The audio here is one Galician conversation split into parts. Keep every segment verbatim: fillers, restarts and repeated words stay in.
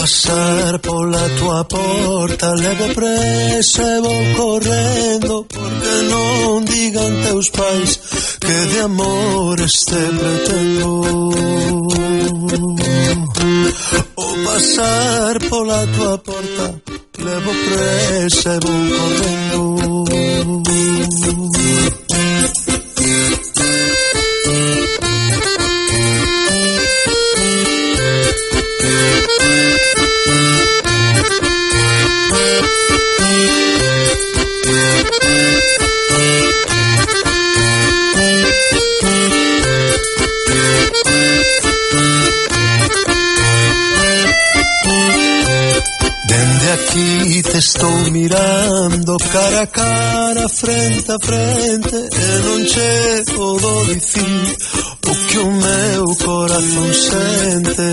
pasar pola tua porta, levo presa e vou correndo, porque non digan teus pais que de amores te pretendo. O pasar pola tua porta, levo presa e vou correndo. Aquí te estou mirando cara a cara, frente a frente, e non che podo dicir o que o meu corazón sente.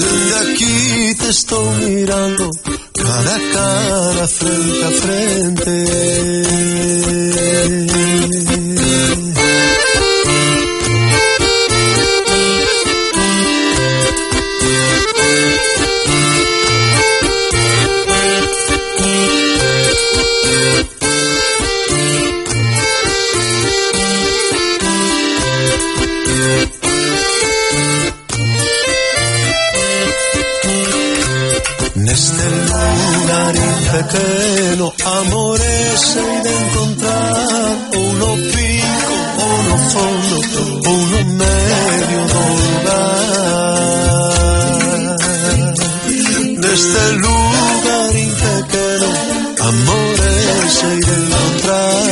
Desde aquí te estou mirando cara a cara, frente a frente. Neste lugar pequeno, amores hei de encontrar, ou no pico, ou no fondo, ou no medio do lugar. Neste lugar pequeno, amores hei de encontrar.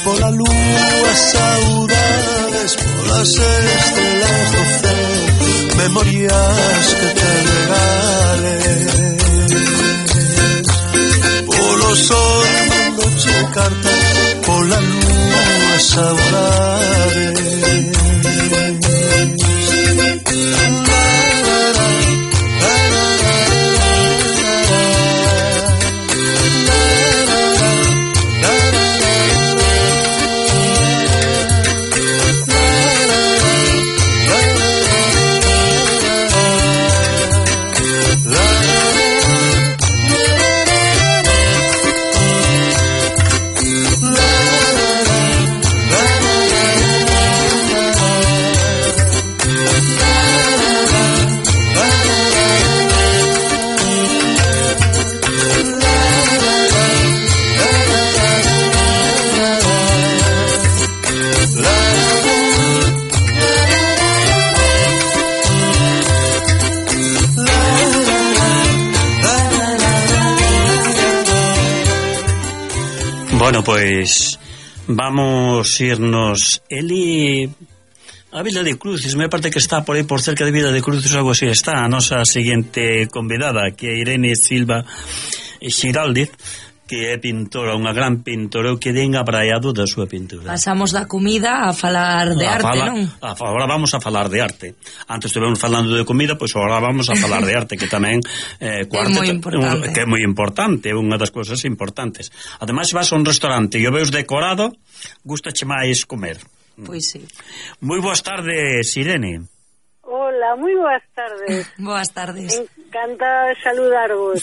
Pola lúa, saudades, polas estrelas do céu, memorias que te regales. Polo sol mandoche cartas, pola lúa, saudades. Bueno, pois vamos irnos. Eli, a Vila de Cruces, me parece que está por aí por cerca de Vila de Cruces, algo así está a nosa seguinte convidada, que é Irene Silva Xiraldez, que é pintora, unha gran pintora, que den abraiado da súa pintura. Pasamos da comida a falar de a arte, fala, non? A, agora vamos a falar de arte. Antes estivemos falando de comida, pois agora vamos a falar de arte, que tamén eh, é moi importante. Que é moi importante, é unha das cousas importantes. Ademais, vas a un restaurante e o veus decorado, gustache máis comer. Pois sí. Moi boas tardes, Irene. Hola, moi boas tardes. Boas tardes. Encantada de saludarvos.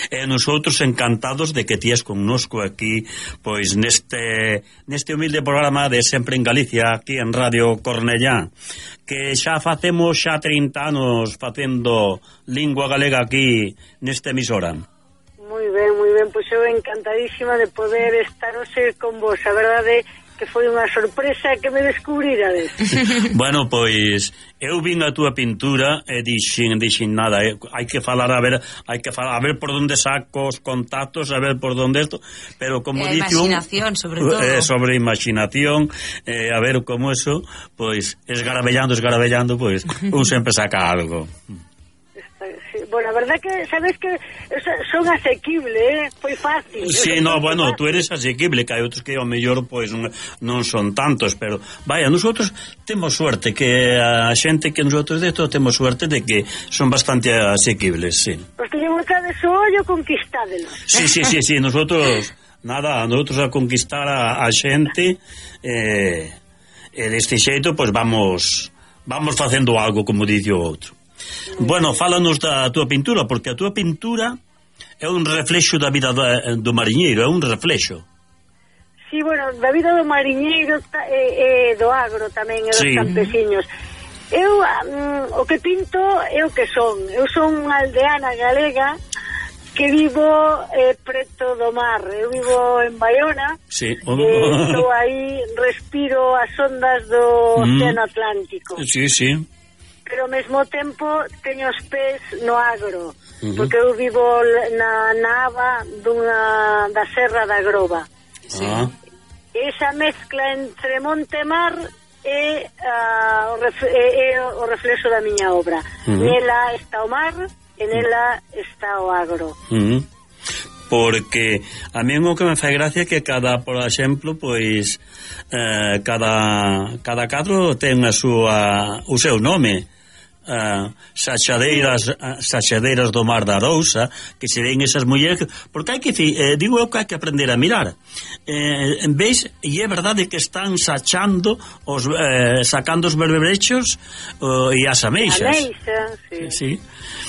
E nosotros encantados de que tías connosco aquí, pois neste neste humilde programa de Sempre en Galicia, aquí en Radio Cornellá, que xa facemos xa trinta anos facendo lingua galega aquí nesta emisora. Moi ben, moi ben, pois eu encantadísima de poder estar hoxe con vos, a verdade que foi unha sorpresa que me descubrirades. Bueno, pois eu vin a túa pintura e dixen, dixen nada, eh, hai que falar a ver, hai que falar a ver por onde saco os contactos, a ver por onde isto, pero como eh, dice un imaginación, sobre todo. Eh, sobre imaginación, eh, a ver como eso, pois esgarabellando, esgarabellando, pois un sempre saca algo. Está, bueno, a verdad que, sabes que son asequibles, eh? Foi fácil. Sí, no, bueno, fácil. Tú eres asequible, que hai outros que ao mellor pois non, non son tantos, pero vaya, nosotros temos suerte, que a xente que nosotros de esto temos suerte de que son bastante asequibles, sí. Pues teñemos que de su ollo conquistádelos. Sí, sí, sí, sí, nosotros, nada, nosotros a conquistar a, a xente, eh, e deste xeito, pois vamos, vamos facendo algo, como dice o outro. Bueno, fálanos da túa pintura, porque a túa pintura é un reflexo da vida do, do mariñeiro, é un reflexo. Sí, bueno, da vida do mariñeiro e, e do agro tamén, e dos sí. campesiños. Eu, um, o que pinto é o que son. Eu son unha aldeana galega que vivo eh, preto do mar. Eu vivo en Baiona, sí. eh, estou aí, respiro as ondas do mm. Océano Atlántico. Sí, sí. Pero ao mesmo tempo teño os pés no agro, uh-huh. porque eu vivo na, na aba dunha, da Serra da Groba. Sí. Ah. Esa mezcla entre monte e mar é, uh, o, ref, é, é o reflexo da miña obra. Uh-huh. Nela está o mar e nela está o agro. Uh-huh. Porque a mí o que me fai gracia é que cada, por exemplo, pois eh, cada, cada cadro ten a súa, o seu nome. Uh, sachadeiras uh, sachadeiras do Mar da Arousa, que se ven esas mulleres, porque hai que eh, digo eu que hai que aprender a mirar, eh, en vez, e é verdade que están sachando os, eh, sacando os berberechos uh, e as ameixas. Ameixa, sí. Sí.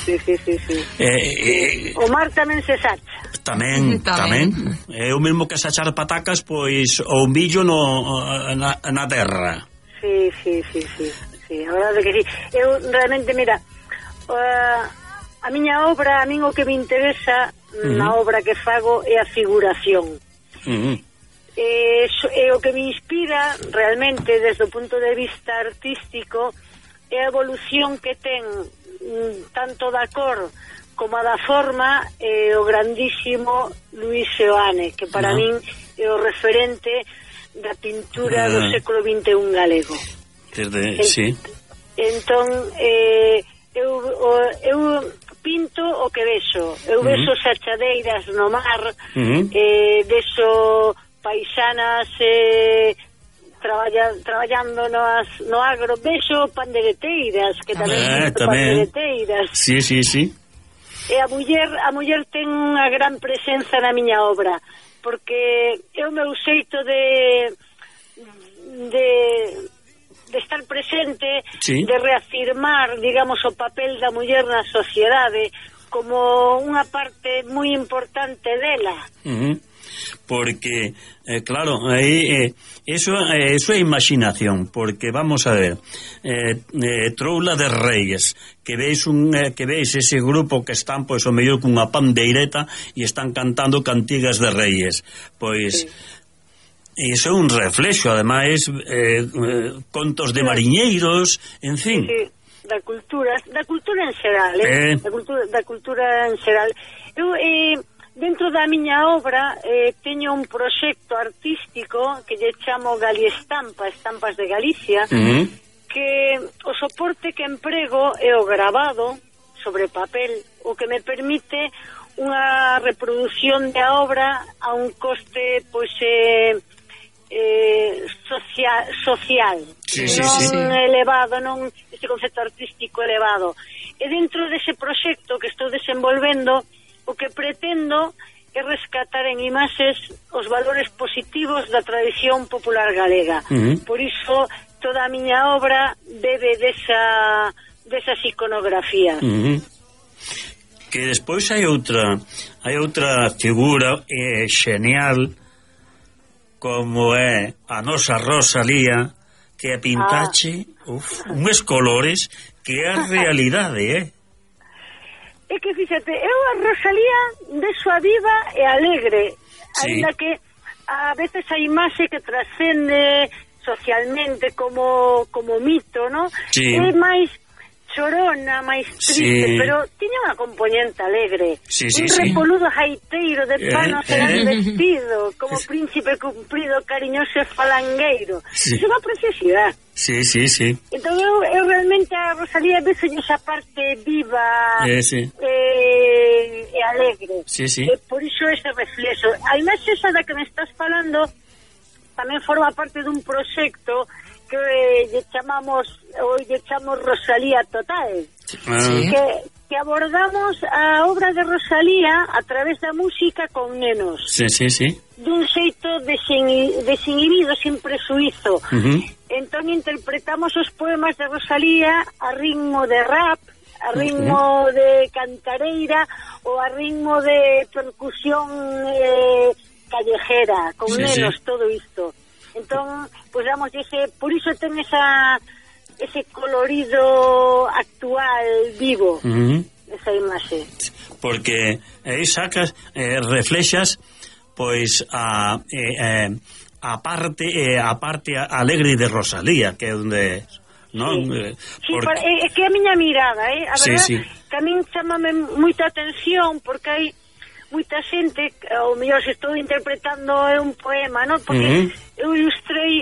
Sí, sí, sí, sí. Eh, eh, o mar tamén se sacha. Tamén, tamén. É o mesmo que sachar patacas, pois, ou un billo no, na, na terra. Sí, sí, sí, sí. Sí, a verdade que sí. Eu realmente, mira, uh, a miña obra, a min o que me interesa uh-huh. na obra que fago é a figuración. Uh-huh. E, e o que me inspira realmente desde o punto de vista artístico é a evolución que ten tanto da cor como a da forma e o grandísimo Luis Seoane, que para uh-huh. min é o referente da pintura uh-huh. do século vinte e un galego. Desde, en, sí. Entón, eh, eu, o, eu pinto o que vexo. Eu uh-huh. vexo sachadeiras no mar, uh-huh. eh, vexo paisanas eh, traballa, traballando no, as, no agro, vexo pandereteiras, que tamén ah, vexo pandereteiras. Sí, sí, sí. E a muller, a muller ten unha gran presenza na miña obra, porque é o meu xeito de de de estar presente, sí. de reafirmar, digamos, o papel da muller na sociedade como unha parte moi importante dela. Uh-huh. Porque, eh, claro, aí, eh, eso, eh, eso é imaginación, porque vamos a ver, eh, eh, Troula de Reyes, que veis un, eh, que veis ese grupo que están, pois, o mellor cunha pandeireta e están cantando cantigas de Reyes, pois... Sí. E iso é un reflexo, ademais, eh, eh, contos de mariñeiros, en fin. Sí, sí, da cultura, da cultura en xeral, eh? eh. Da, cultura, da cultura en xeral. Eu, eh, dentro da miña obra, eh, teño un proxecto artístico que lle chamo Galiestampa, Estampas de Galicia, uh-huh. que o soporte que emprego é o grabado sobre papel, o que me permite unha reproducción da obra a un coste, pois, eh, Eh, social, social sí, non sí, sí. elevado, non este concepto artístico elevado. E dentro dese proxecto que estou desenvolvendo, o que pretendo é rescatar en imaxes os valores positivos da tradición popular galega. Uh-huh. Por iso toda a miña obra bebe desa desas iconografías. Uh-huh. Que despois hai outra hai outra figura eh, xenial, como é a nosa Rosalía, que a pintache ah. uf, uns colores que é a realidade, eh? É que, fíxate, eu a Rosalía vexo a viva e alegre, sí. Ainda que a veces a imaxe que trascende socialmente como, como mito, ¿no? Sí. É máis chorona, máis triste, Sí. pero tiña unha componente alegre. Sí, sí, un sí. repoludo jaiteiro de pano Eh, serán eh. vestido, como príncipe cumprido, cariñoso e falangueiro. Sí. É unha preciosidade. Sí, sí, sí. Entón eu, eu realmente a Rosalía vexo esa parte viva Eh, sí. eh, e alegre. Sí, sí. E por iso ese reflexo. A imaxe esa da que me estás falando tamén forma parte dun proxecto que eh, lle chamamos, ou lle chamamos Rosalía Total. Ah, Sí. Que, que abordamos a obra de Rosalía a través da música con nenos. sí, sí, sí. Dun xeito desin, desinhibido, sin presuizo. Ujú. Entón interpretamos os poemas de Rosalía a ritmo de rap, a ritmo de cantareira ou a ritmo de percusión eh, callejera, con Sí, nenos, sí. todo isto. Entón, pois damos ese, por iso ten esa ese colorido actual vivo, Ujú. esa imaxe. Porque aí sacas, eh, reflexas pois a eh, eh, a parte eh, a parte alegre de Rosalía, que é onde non Sí. eh, Sí, porque- por, é, é que a miña mirada, eh? A Sí, verdad, sí. que a min chamame moita atención porque hai moita xente, ou mellor se estou interpretando un poema, non? Porque Ujú. eu ilustrei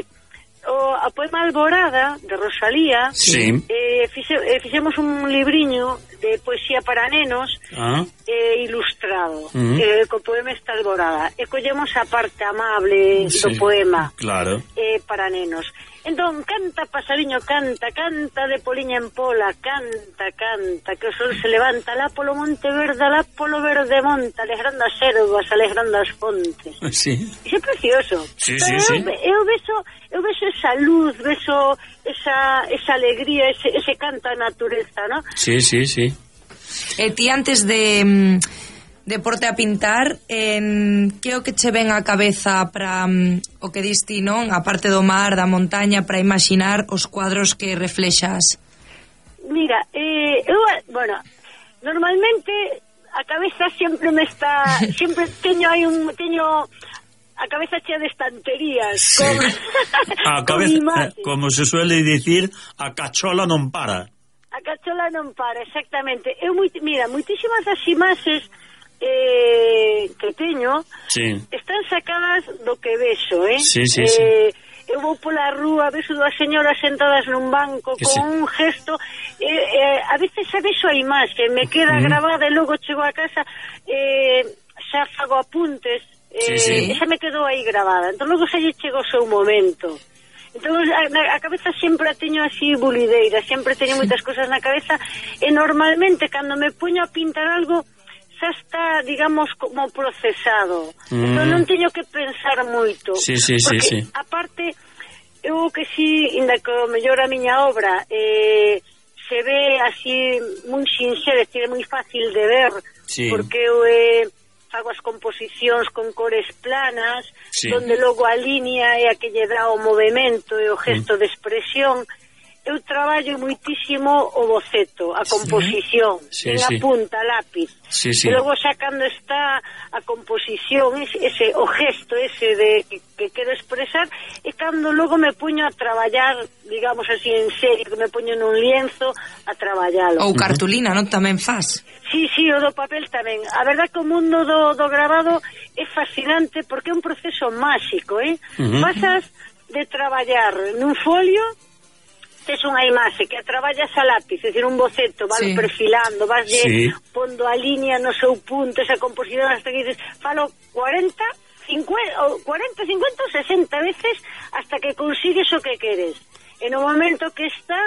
o a poema Alborada de Rosalía. Sí. Eh, fixe, eh, fixemos un libriño de poesía para nenos Ah, eh, ilustrado, Ujú. eh, co poema esta Alborada, e collemos a parte amable do sí. poema Claro. eh, para nenos. Entón, canta, pasariño, canta, canta de poliña en pola, canta, canta, que o sol se levanta, lá polo monte verde, lá polo verde monte, alegrando as ervas, alegrando as fontes. Sí. Iso é precioso. Sí, Pero sí, eu, sí. eu vexo, eu vexo esa luz, vexo esa, esa alegría, ese, ese canto á natureza, ¿no? Sí, sí, sí. E ti antes de de porte a pintar, en que é o que che ven á cabeza para um, o que dis ti, non? A parte do mar, da montaña, para imaginar os cuadros que reflexas? Mira, eh, eu, bueno, normalmente a cabeza sempre me está, sempre teño aí un, teño a cabeza chea de estanterías, Sí. con, A con cabeza, imaxes. eh, como se suele dicir, a cachola non para. A cachola non para, exactamente. Eu, moi, mira, moitísimas das imaxes eh, que teño Sí. están sacadas do que vexo, eh? Sí, sí, eh, eu vou pola rúa, vexo dúas señoras sentadas nun banco Que con sí. un gesto, eh, eh, a veces xa vexo a imaxe, me queda Mm. grabada e logo chego a casa, eh, xa fago apuntes, eh, Sí, sí. e xa me quedou aí grabada, entón logo xa lle chego o seu momento. Entón a, a cabeza sempre a teño así bulideira, sempre teño moitas cosas na cabeza, e normalmente cando me poño a pintar algo xa está, digamos, como procesado. Mm. Entón non teño que pensar moito. Sí, sí, sí, porque, sí. aparte, eu que si, inda que o mellor a miña obra eh, se ve así moi sinxera, é moi fácil de ver, Sí. porque eu eh, fago as composicións con cores planas, Sí. donde logo a línea é a que lle dá o movimento e o gesto Mm. de expresión. Eu traballo moitísimo o boceto, a composición, Sí, en sí. a punta, lápiz. Sí, sí. E logo xa cando está a composición, ese, ese o gesto ese de que, que quero expresar, e cando logo me puño a traballar, digamos así, en serio, que me puño nun lienzo a traballalo. Ou cartulina, non? Tamén faz. Sí, sí, o do papel tamén. A verdad que o mundo do, do grabado é fascinante porque é un proceso máxico, eh? Ujú. Pasas de traballar nun folio, tes unha imaxe que a traballas a lápiz, é dicir, un boceto, vas Sí. perfilando, vas Sí. pondo a línea no seu punto, esa composición, hasta que dices, falo cuarenta, cincuenta, ou cuarenta, cincuenta ou sesenta veces hasta que consigues o que queres. E no momento que está,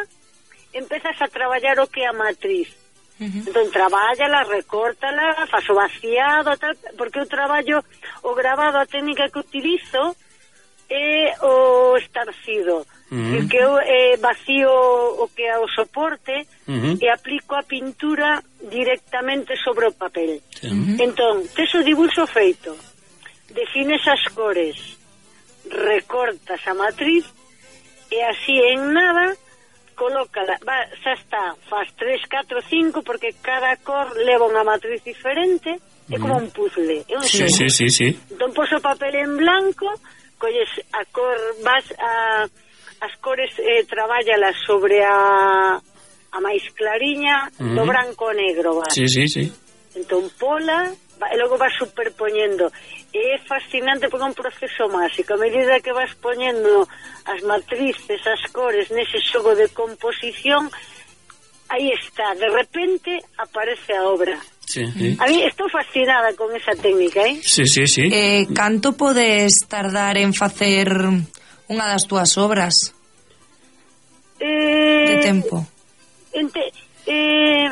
empezas a traballar o que é a matriz. Uh-huh. Entón, trabállala, recórtala, faz o vaciado, tal, porque eu traballo o grabado, a técnica que utilizo é o estarcido. Uh-huh. Que eu eh, vacío o que é o soporte Uh-huh. e aplico a pintura directamente sobre o papel. Sí. Entón, tes o dibuixo feito, defines as cores, recortas a matriz e así en nada colócala, va, xa está, faz tres, catro, cinco, porque cada cor leva unha matriz diferente, é como un puzzle, é un Sí, xogo. sí, sí, sí. Entón, pos o papel en blanco, colles a cor, vas a as cores, eh, traballalas sobre a a máis clariña, uh-huh. do branco ao negro, vale? Sí, sí, sí. Entón, pola, e logo vas superpoñendo. E é fascinante porque é un proceso máxico. A medida que vas poñendo as matrices, as cores, nese xogo de composición, aí está, de repente aparece a obra. Sí, sí. A mí estou fascinada con esa técnica, eh? Sí, sí, sí. Eh, canto podes tardar en facer unha das túas obras? Eh, de tempo? Ente, eh,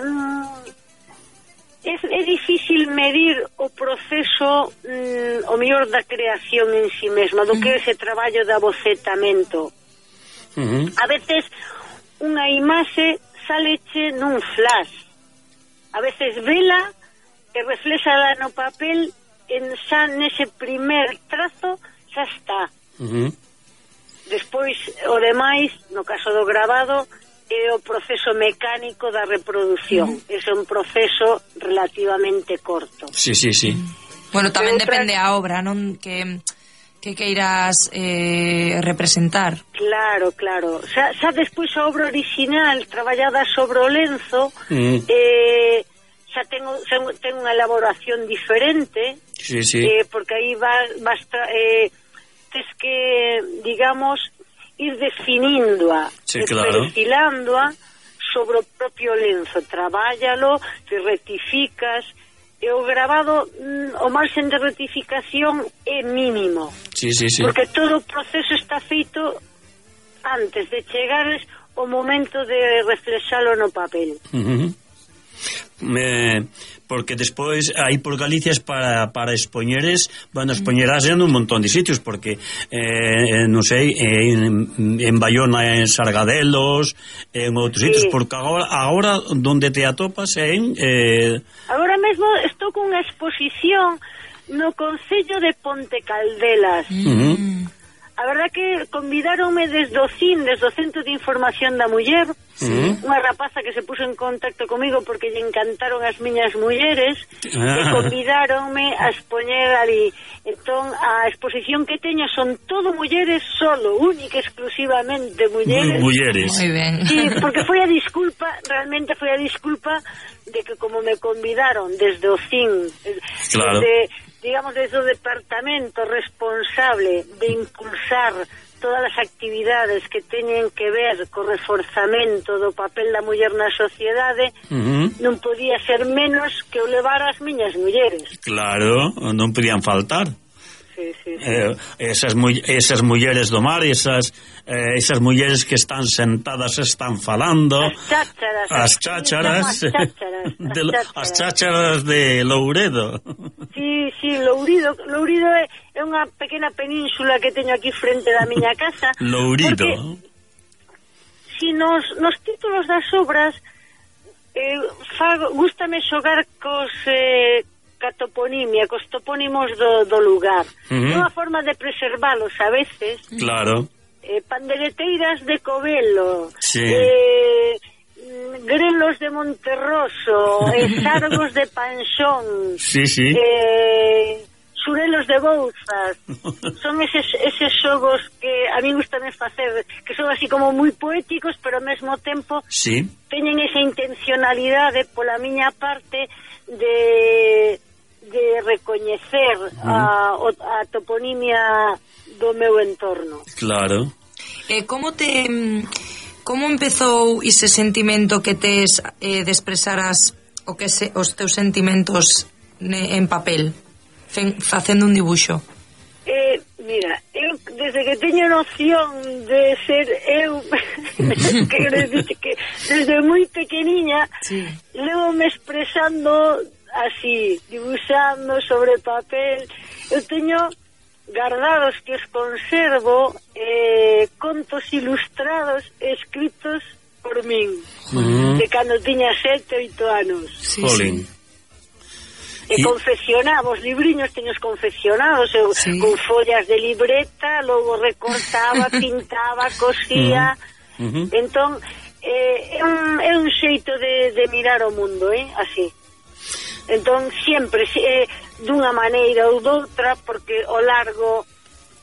é, é difícil medir o proceso mm, o mellor da creación en si mesma, do que é ese traballo de abocetamento. Uh-huh. A veces unha imaxe saleche nun flash, a veces vela e reflexala no papel, en xa nese primer trazo xa está. Uh-huh. Despois o demais, no caso do grabado, é o proceso mecánico da reproducción. Uh-huh. É un proceso relativamente corto. Sí, sí, sí. Bueno, tamén Pero depende a obra, non? Que que queiras eh, representar. Claro, claro. Xa, xa despois a obra original traballada sobre o lenzo, mm. eh, xa ten, xa ten unha elaboración diferente, sí, sí. Eh, porque aí vas, vas eh, tes que, digamos, ir definíndoa, sí, claro. perfilándoa sobre o propio lenzo. Trabállalo, te rectificas, e o grabado, o marxen de rectificación é mínimo. Sí, sí, sí. Porque todo o proceso está feito antes de chegares o momento de reflexalo no papel. Uh-huh. Me, porque despois aí por Galicia para, para expoñeres, bueno, expoñerás en un montón de sitios, porque eh, non sei, en, en Bayona, en Sargadelos, en outros sí. sitios, porque agora, agora donde te atopas é en eh... agora mesmo estou con unha exposición no Concello de Ponte Caldelas. Uh-huh. A verdad que convidaronme desde o C I N, desde o Centro de Información da Muller, uh-huh. unha rapaza que se puso en contacto comigo porque lle encantaron as miñas mulleres, ah. e convidaronme a expoñer ali. Entón, a exposición que teño son todo mulleres solo, única, exclusivamente mulleres. Mulleres. Moi ben. Sí, porque foi a disculpa, realmente foi a disculpa de que como me convidaron desde o C I N, claro. desde, digamos, desde o departamento responsable de impulsar todas as actividades que teñen que ver co reforzamento do papel da muller na sociedade, uh-huh. non podía ser menos que o levar as miñas mulleres. Claro, non podían faltar. Sí, sí, sí. Eh, esas, mu esas mulleres do mar, esas, eh, esas mulleres que están sentadas, están falando, as chácharas, as chácharas, as chácharas, de, as chácharas de Louredo. Sí, sí, Lourido, Lourido é, é unha pequena península que teño aquí frente da miña casa. Lourido. Si nos, nos títulos das obras eh, fago, gústame xogar cos eh, ca toponimia, cos topónimos do, do lugar. Uh-huh. É unha forma de preservalos a veces. Claro. Eh, pandereteiras de Covelo. Sí. Eh, grelos de Monterroso, eh, sargos de Panxón. Sí, sí. Eh, xurelos de Bouzas. Son eses, eses xogos que a mí gustame facer, que son así como moi poéticos, pero ao mesmo tempo sí. teñen esa intencionalidade pola miña parte de de recoñecer uh-huh. a, a toponimia do meu entorno. Claro. Eh, como te como empezou ese sentimento que tes eh, de expresar as, o que se, os teus sentimentos ne, en papel, fen, facendo un dibuixo? Eh, mira, eu desde que teño noción de ser eu que, que desde moi pequeniña sí. levo me expresando así, dibuixando sobre papel. Eu teño guardados que os conservo eh, contos ilustrados escritos por min uh-huh. de cando tiña sete, oito anos. Sí, sí. E y... confeccionaba os libriños, teños confeccionados eu, sí. con follas de libreta, logo recortaba, pintaba, cosía. Uh-huh. Uh-huh. Entón eh, é, un, é un xeito de, de mirar o mundo, eh, así. Entón sempre eh, dunha maneira ou doutra, porque ao largo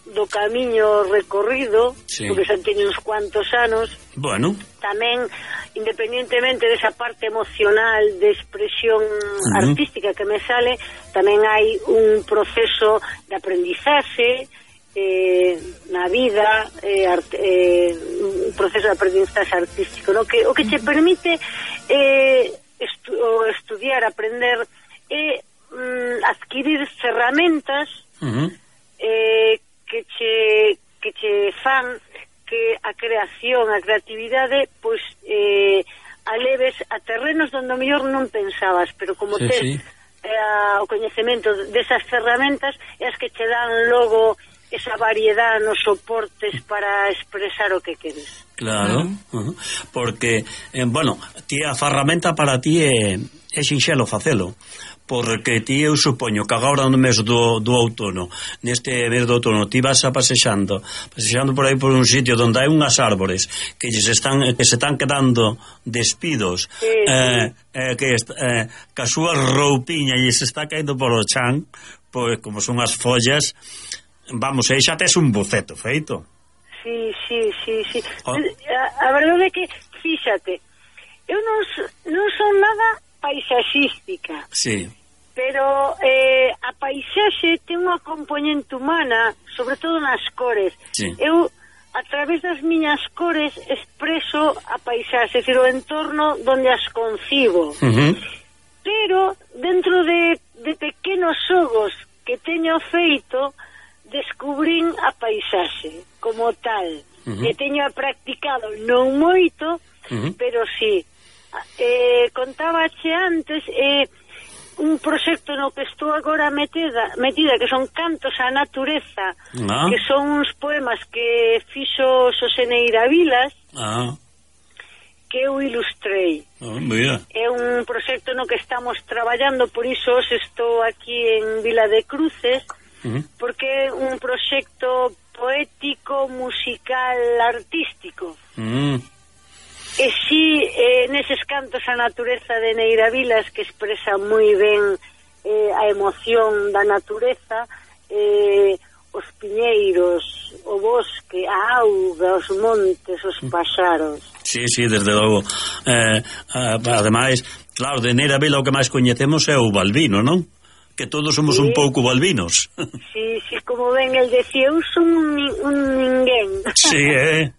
do camiño recorrido, sí. porque xa teño uns cuantos anos. Bueno. Tamén, independientemente desa parte emocional de expresión uh-huh. artística que me sale, tamén hai un proceso de aprendizaxe eh, na vida, eh, art, eh, un proceso de aprendizaxe artístico, no? que, o que te permite eh, estu, estudiar, aprender, eh, mm, adquirir ferramentas uh-huh. eh, que che, que che fan que a creación, a creatividade, pois eh, aleves a terrenos donde o mellor non pensabas, pero como sí, tes sí. Eh, o coñecemento desas ferramentas é as que che dan logo esa variedade nos soportes para expresar o que queres. Claro, uh-huh. porque, eh, bueno, ti a ferramenta para ti é, é sinxelo facelo, porque ti eu supoño que agora no mes do, do outono, neste mes do outono, ti vas a pasexando, pasexando por aí por un sitio onde hai unhas árbores que se están que se están quedando despidos, sí, eh, eh, que, eh, que a súa roupiña e se está caendo por o chan, pois como son as follas, vamos, aí xa tes un boceto feito. Sí, sí, sí, sí. Oh. A, a verdade é que, fíxate, eu non, non son nada paisaxística. Sí. Pero eh, a paisaxe ten unha componente humana, sobre todo nas cores. Sí. Eu, a través das miñas cores, expreso a paisaxe, é dicir, o entorno donde as concibo. Uh-huh. Pero, dentro de, de pequenos xogos que teño feito, descubrín a paisaxe como tal. Uh-huh. E teño practicado non moito, uh-huh. pero sí. Eh, contábache antes... Eh, un proxecto no que estou agora metida, metida que son cantos á natureza, ah. que son uns poemas que fixo Xosé Neira Vilas, ah. que eu ilustrei. Oh, é un proxecto no que estamos traballando, por iso estou aquí en Vila de Cruces, uh-huh. porque é un proxecto poético, musical, artístico. Uh-huh. E si, eh, neses cantos a natureza de Neira Vilas, que expresa moi ben eh, a emoción da natureza, eh, os piñeiros, o bosque, a auga, os montes, os paxaros. Sí, sí, desde logo. Eh, ademais, claro, de Neira Vila o que máis coñecemos é o Balbino, non? Que todos somos sí. un pouco balbinos. Sí, sí, como ben el decía, eu son un, un ninguén. Sí, eh?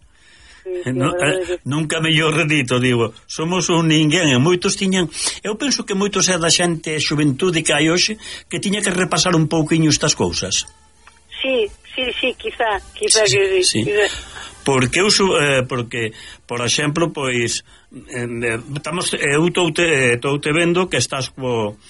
Sí, sí, no, eh, nunca mellor redito, digo, somos un ninguén, e moitos tiñan, eu penso que moitos é da xente xuventude que hai hoxe que tiña que repasar un pouquiño estas cousas. Sí, sí, sí, quizá, quizá sí, que sí, sí. Quizá. Porque eu eh, porque, por exemplo, pois eh, estamos eu estou te, te vendo que estás co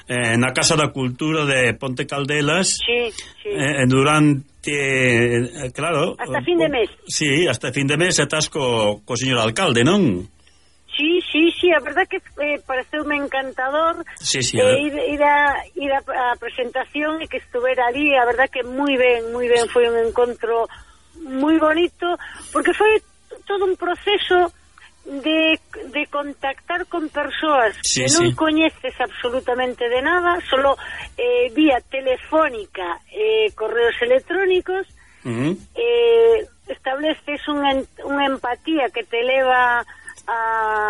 eh, na Casa da Cultura de Ponte Caldelas. Sí, sí. Eh, durante Eh, claro, hasta fin de mes. Sí, hasta fin de mes estás co, co señor alcalde, non? Sí, sí, sí, a verdad que eh, pareceume encantador sí, sí, eh, ir, ir, a, ir a, a presentación e que estuvera ali, a verdad que moi ben, moi ben, foi un encontro moi bonito, porque foi todo un proceso de, de contactar con persoas sí, que non sí. coñeces absolutamente de nada, solo eh, vía telefónica, eh, correos electrónicos, uh-huh. eh, estableces unha, unha empatía que te leva a,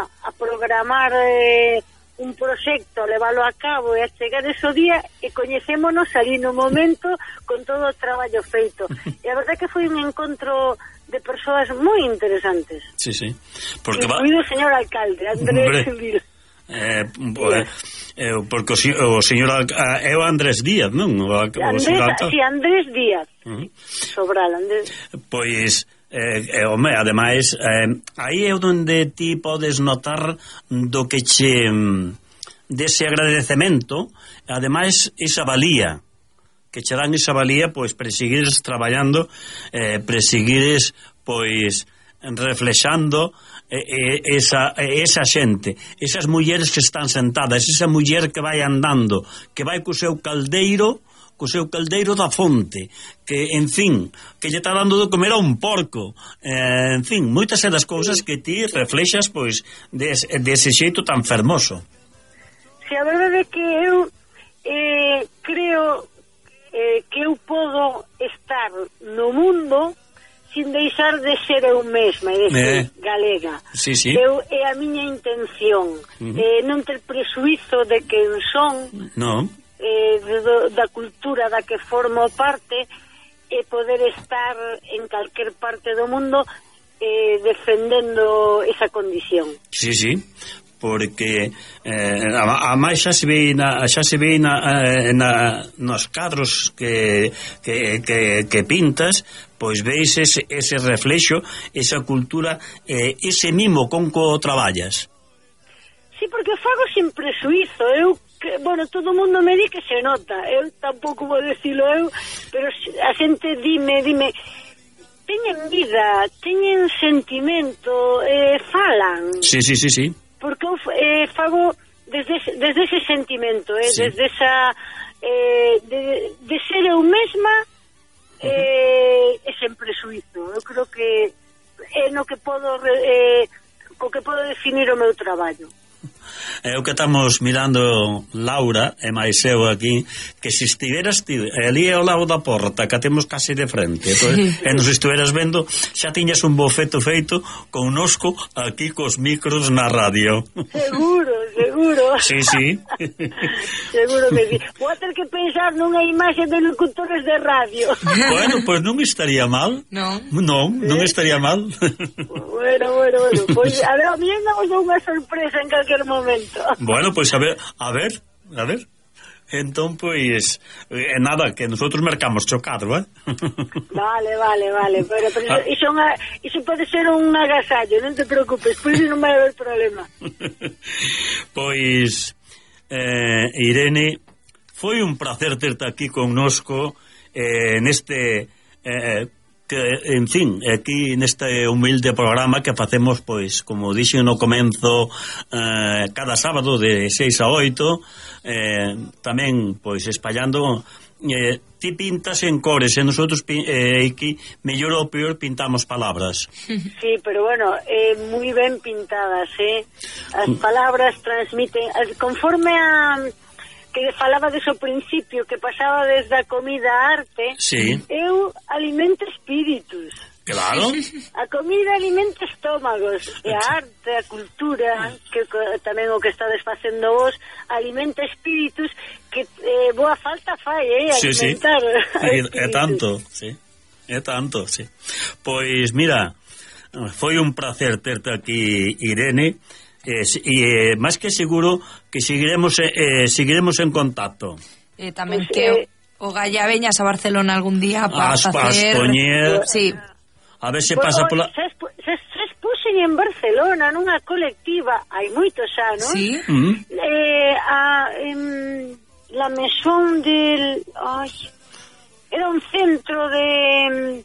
a programar eh, un proxecto, leválo a cabo e a chegar ese día e coñecémonos ali no momento con todo o traballo feito. E a verdade que foi un encontro de persoas moi interesantes. Sí, sí. Porque incluído va... o señor alcalde, Andrés Vila. Eh, pues, eh, porque o, o señor é o Andrés Díaz, non? O, o Andrés, si, sí, Andrés Díaz. Uh-huh. Sobral, Andrés. Pois, eh, eh, home, ademais, eh, aí é onde ti podes notar do que che dese agradecemento, ademais, esa valía que che dan esa valía, pois, para seguires traballando, eh, para seguires, pois, reflexando eh, eh, esa, eh, esa xente, esas mulleres que están sentadas, esa muller que vai andando, que vai co seu caldeiro, co seu caldeiro da fonte, que, en fin, que lle está dando de comer a un porco, eh, en fin, moitas das cousas que ti reflexas, pois, des, dese xeito tan fermoso. Si, a verdade é que eu eh, creo eh, que eu podo estar no mundo sin deixar de ser eu mesma, de ser eh. galega. Sí, sí. Eu, é a miña intención. Uh-huh. eh, non ter presuizo de quen son, no. eh, de, do, da cultura da que formo parte, e poder estar en calquer parte do mundo eh, defendendo esa condición. Sí, sí. Porque eh, a, a máis xa se ve na, xa se ve na, eh, na, nos cadros que, que, que, que pintas, pois veis ese, ese reflexo, esa cultura, eh, ese mimo con co traballas. Sí, porque fago sin presuizo. Eu, que, bueno, todo o mundo me di que se nota, eu tampouco vou decilo eu, pero a xente dime, dime teñen vida, teñen sentimento, eh, falan. Sí, sí, sí, sí. Porque eu eh, fago desde, desde ese sentimento, eh, sí. desde esa eh, de, de ser eu mesma, eh, uh-huh. e sen presuizo. Eu creo que é no que podo eh, co que podo definir o meu traballo. É o que estamos mirando, Laura e máis eu aquí, que se estiveras ti ali ao lado da porta, que temos casi de frente, entonces, e nos estiveras vendo, xa tiñas un bofeto feito connosco aquí cos micros na radio. Seguro, seguro. Sí, sí. Seguro que sí. Vou ter que pensar nunha imaxe de locutores de radio. Bueno, pois pues non estaría mal. Non. Non, non estaría mal. Bueno, bueno, bueno. Pois, a ver, a mí andamos unha sorpresa en calquer momento. Bueno, pois pues a ver, a ver, a ver. Entón, pois, eh, nada, que nosotros mercamos chocado, eh? Vale, vale, vale. Pero, pero ah. iso, unha, iso pode ser un agasallo, non te preocupes, pois non vai haber problema. Pois, eh, Irene, foi un placer terte aquí connosco eh, neste... Eh, que, en fin, aquí neste humilde programa que facemos, pois, como dixen no comenzo, eh, cada sábado de seis a oito, eh, tamén, pois, espallando, eh, ti pintas en cores, e nosotros eh, aquí, mellor ou peor, pintamos palabras. Sí, pero bueno, eh, moi ben pintadas, eh? As palabras transmiten, conforme a... que falaba deso principio, que pasaba desde a comida á arte, sí. Eu alimento espíritus. Claro. A comida alimenta estómagos, e a arte, a cultura, que tamén o que estades facendo vos, alimenta espíritus, que eh, boa falta fai, eh, alimentar. Sí, sí. É tanto, sí. É tanto, sí. Pois, mira, foi un placer terte aquí, Irene, e eh, eh, máis que seguro que seguiremos eh, seguiremos en contacto. Eh, tamén pues, que eh, o Galla veñas a Barcelona algún día para facer... Poñer... Sí. A ver se pues, pasa pola... Se, se, se expuxen en Barcelona nunha colectiva hai moitos anos. Sí. Mm. Eh, a em, la maison del... Ay, era un centro de... Em,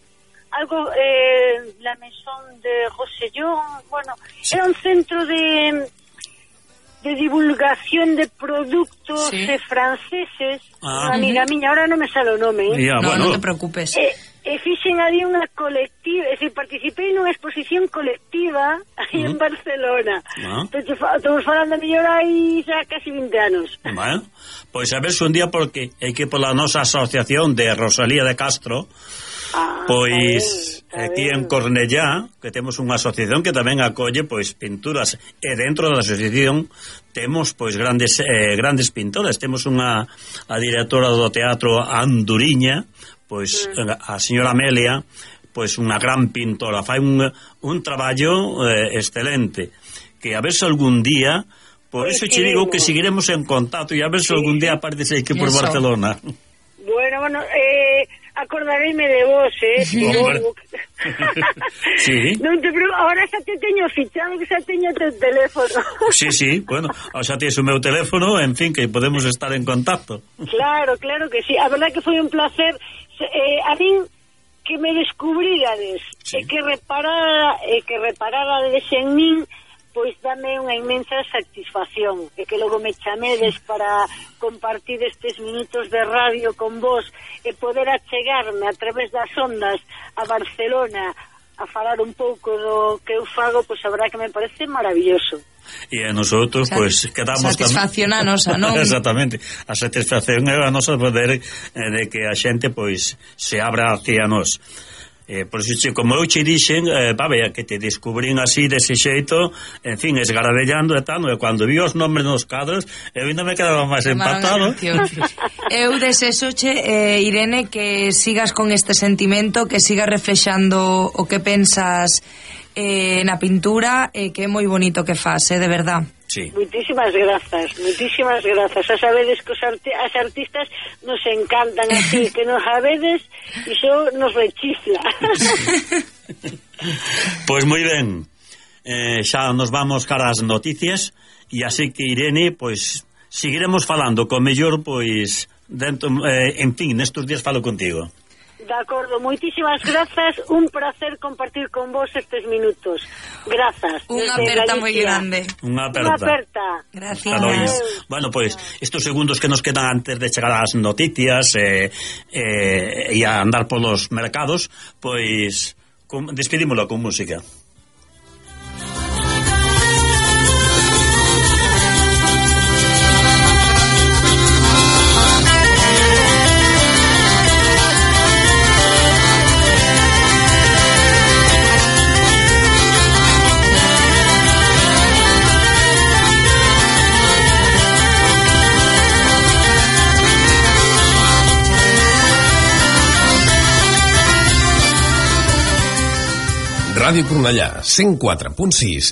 algo, eh, la maison de Rossellón, bueno, sí. Era un centro de de divulgación de productos sí. eh, franceses, ah, una amiga uh-huh. miña, ahora non me sale o nome, eh? Yeah, no, bueno. non te preocupes. E, e fixen ali unha colectiva, é dicir, participei nunha exposición colectiva aí uh-huh. en Barcelona. Uh-huh. Entón, estamos falando mellor aí xa casi vinte anos. Bueno, pois a ver se un día, porque hai que pola nosa asociación de Rosalía de Castro, Ah, pois está ben, está aquí ben. en Cornellá, que temos unha asociación que tamén acolle pois pinturas, e dentro da asociación temos pois grandes eh, grandes pintoras. Temos unha a directora do teatro Anduriña, pois mm. a señora Amelia, pois unha gran pintora, fai un, un traballo eh, excelente, que a ver se algún día, por pues eso che digo que seguiremos en contacto, e a ver se algún día aparece aquí por Barcelona. Bueno, bueno, eh acordareime de vos, eh? Sí. Sí. Non te preocupes, ahora xa te teño fichado, que xa teño teu teléfono. Sí, sí, bueno, xa tens o meu teléfono, en fin, que podemos estar en contacto. Claro, claro que sí. A verdad que foi un placer, eh, a min que me descubrirades, sí. e que reparara, e que repararades en min, pois dame unha inmensa satisfacción, e que logo me chamedes para compartir estes minutos de radio con vos e poder achegarme a través das ondas a Barcelona, a falar un pouco do que eu fago, pois a verdad que me parece maravilloso. E a nosotros, Sa pois, quedamos... satisfacción a nosa, non? Exactamente, a satisfacción é a nosa poder eh, de que a xente, pois, se abra hacia nós. Eh, por iso, como eu che dixen, eh, pa ver, que te descubrín así, dese xeito, en fin, esgarabellando e tal, e cando vi os nombres nos cadros, eu ainda me quedaba máis empatado. Eu desexoche, eh, Irene, que sigas con este sentimento, que sigas reflexando o que pensas eh, na pintura, eh, que é moi bonito que faz, eh, de verdad. Sí. Muchísimas grazas, muchísimas grazas. A sabedes que os arti as artistas nos encantan así, que nos sabedes, iso nos rechifla. Pois moi ben, eh, xa nos vamos cara ás noticias, e así que, Irene, pois seguiremos falando, co mellor, pois dentro, eh, en fin, nestes días falo contigo. De acordo, moitísimas grazas, un placer compartir con vos estes minutos. Grazas. Unha aperta moi grande. Unha aperta. Unha aperta. Gracias. Bueno, pois, pues, estos segundos que nos quedan antes de chegar ás noticias eh, eh, e a andar polos mercados, pois, pues, despedímolo con música. Ràdio Cornellà, cent quatre punt sis.